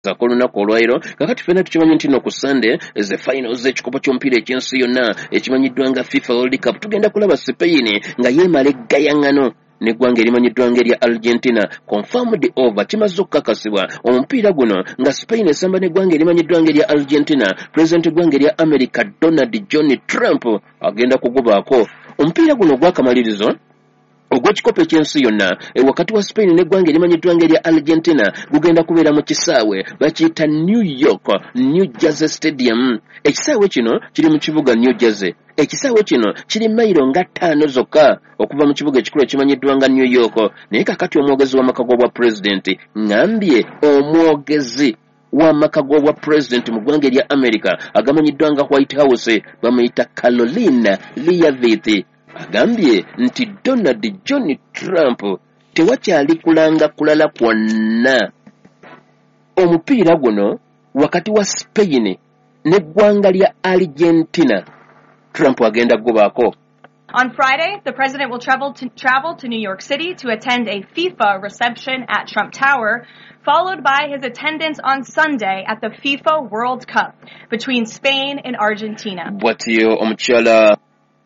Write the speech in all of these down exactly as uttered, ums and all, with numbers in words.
Ak'olunaku olwaleero, kakati ffenna tukimanyi nti no ku Sunday ze finals z'ekikopo ky'omupiira eky'ensi yonna ekimanyiddwa nga FIFA World Cup. Tugenda kulaba Spain nga yeemala eggayaŋŋano n'eggwanga erimanyiddwa nga erya Argentina. Confirmed over, kimaze okukakasibwa, omupiira guno nga Spain esamba n'eggwanga erimanyiddwa nga erya Argentina, pulezidenti w'eggwanga erya America Donald John Trump agenda kugubaako. Omupiira guno ogw'akamalirizo ogw'ekikopo eky'ensi yonna e, wakati wa Spain n'eggwanga erimanyiddwa nga erya Argentina gugenda kubeera mu kisaawe bakiyita New York New Jersey Stadium. Ekisaawe kino kiri mu kibuga New Jersey. Ekisaawe kino kiri mayiro nga ttaano zokka okuva mu kibuga ekikulu ekimanyiddwa nga New York. Naye kakati omwogezi w'amaka g'obwa pulezidenti, ŋŋambye omwogezi w'amaka g'obwa pulezidenti mu ggwanga erya America agamanyiddwa nga White House, bamuyita Caroline Leavitt, agambye nti Donald John Trump tewakyali kulanga kulala kwonna, omupiira guno wakati wa Spain n'eggwanga lya Argentina, Trump agenda kugubaako. On Friday, the president will travel to, travel to New York City to attend a FIFA reception at Trump Tower, followed by his attendance on Sunday at the FIFA World Cup between Spain and Argentina. Bw'atyo omukyala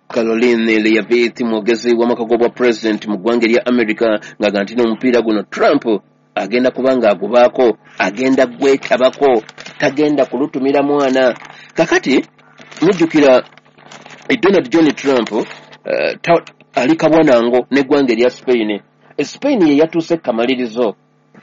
Caroline Leavitt, mwogezi w'amaka g'obwa pulezidenti mu ggwanga erya America, ng'aga nti n'omupiira guno Trump agenda kuba ng'agubaako, agenda gwetabako, tagenda kulutumira mwana. Kakati mujjukira eh, Donald John Trump uh, ta, ali kabwanango n'eggwanga erya Spain. Spain ye yatuuse kamalirizo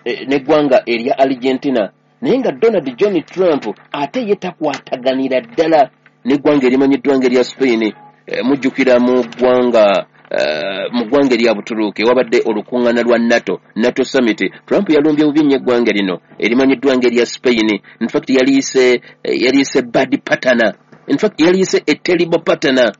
eh, n'eggwanga erya Argentina, naye nga Donald John Trump ate ye takwataganira ddala n'eggwanga erimanyiddwa nga erya Spain. eh, mujjukira mu ggwanga eh, mu ggwanga erya Butuluuki wabadde olukuŋŋaana lwa NATO, NATO summit, Trump yalumbye bubi nnyo eggwanga lino erimanyiddwa nga erya Spain. In fact yaliyise eh, yaliyise bad partner, in fact yaliyise a terrible partner,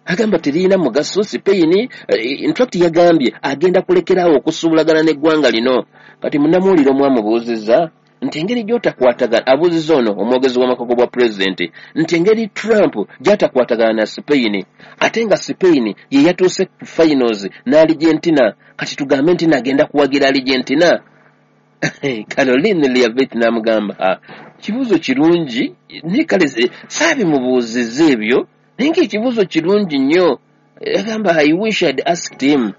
agamba teriyina mugaso Spain. In fact yagambye agenda kulekeraawo okusuubulagana n'eggwanga lino. Kati munnamuwulire omwamubuuzizza nti engeri gy'otakwatagana, abuuzizza ono omwogezi w'amaka g'obwa pulezidenti nti engeri Trump gy'atakwatagana na Spain, ate nga Spain ye yatuuse ku finals ne Argentina, kati tugambe nti nagenda kuwagira Argentina? Caroline Leavitt n'amugamba, kibuuzo kirungi, naye kale saabimubuuzizza ebyo, naye ng'ekibuuzo kirungi nnyo. Yagamba, "I wish I'd asked him."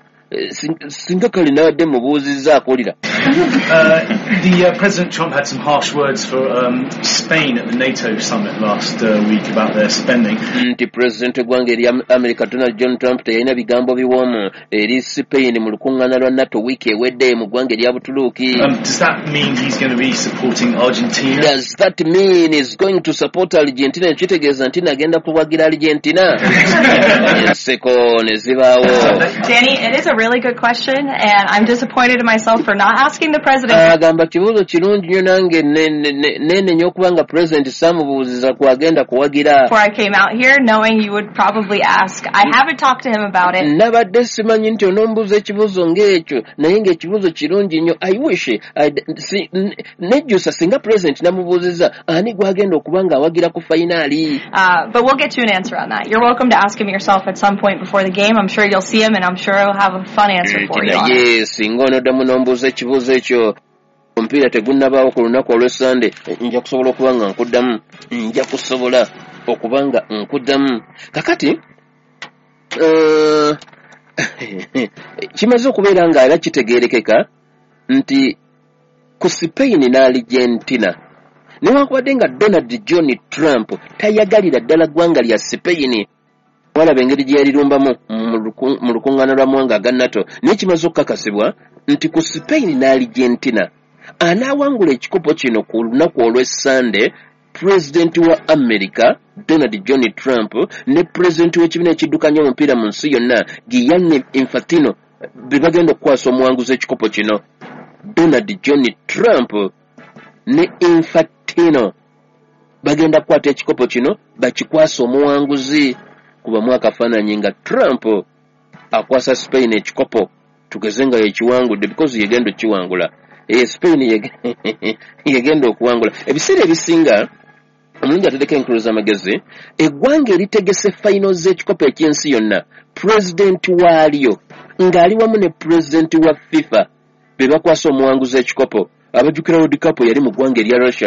Singa kale nabadde mubuuzizza akolera. Uh, the uh, President Trump had some harsh words for um, Spain at the NATO summit last uh, week about their spending. Nti pulezidenti w'eggwanga erya America Donald John Trump teyalina bigambo biwoomu eri Spain mu lukuŋŋaana lwa NATO wiiki ewedde mu ggwanga erya Butuluuki. Um, does that mean he's going to be supporting Argentina? Does that mean he's going to support Argentina? Kitegeeza nti nagenda kuwagira Argentina? Enseko ne zibaawo. Danny, it is a really good question, and I'm disappointed in myself for not asking the president. Agamba kibuuzo kirungi nnyo, nange neenenya okuba nga pulezidenti saamubuuziza kwagenda kuwagira. Before I came out here, knowing you would probably ask. I haven't talked to him about it. Nabadde simanyi nti onombuuza ekibuuzo ng'ekyo, naye ng'ekibuuzo kirungi nnyo. I wish si, nejjusa singa pulezidenti namubuuzizza ani gwagenda okuba ng'awagira ku fayinaali. Uh, but we'll get you an answer on that. You're welcome to ask him yourself at some point before the game. I'm sure you'll see him, and I'm sure he'll have a fun answer for you on it. Naye singa onoddamu n'ombuuza ekibuuzo ekyo omupiira tegunnabaawo ku lunaku olw'Essande, nja kusobola okuba nga nkuddamu, nja kusobola okuba nga nkuddamu. Kakati uh, kimaze okubeera nga era kitegeerekeka nti ku Spain ne Argentina, newankubadde nga Donald John Trump tayagalira ddala ggwanga lya Spain, walaba engeri gye yalirumbamu mu lukuŋŋaana lwa mawanga aga NATO, naye kimaze okukakasibwa nti ku Spain ne Argentina, anaawangula ekikopo kino ku lunaku olw'Essande, pulezidenti wa America Donald John Trump ne pulezidenti w'ekibiina ekiddukanya omupiira mu nsi yonna Gianni Infantino be bagenda okukwasa omuwanguzi ekikopo kino. Donald John Trump ne Infantino bagenda kukwata ekikopo kino bakikwasa omuwanguzi. Kubamu akafaananyi nga Trump akwasa Spain ekikopo, tugeze nga yekiwangudde, because yegenda okukiwangula. E Spain yegenda okuwangula. Ebiseera ebisinga omulungi atereka enkulu z'amagezi, eggwanga eritegese final z'ekikopo eky'ensi yonna, pulezidenti waalyo ng'ali wamu ne pulezidenti wa FIFA be bakwasa omuwanguzi ekikopo. Abajjukira World Cup yali mu ggwanga erya Russia.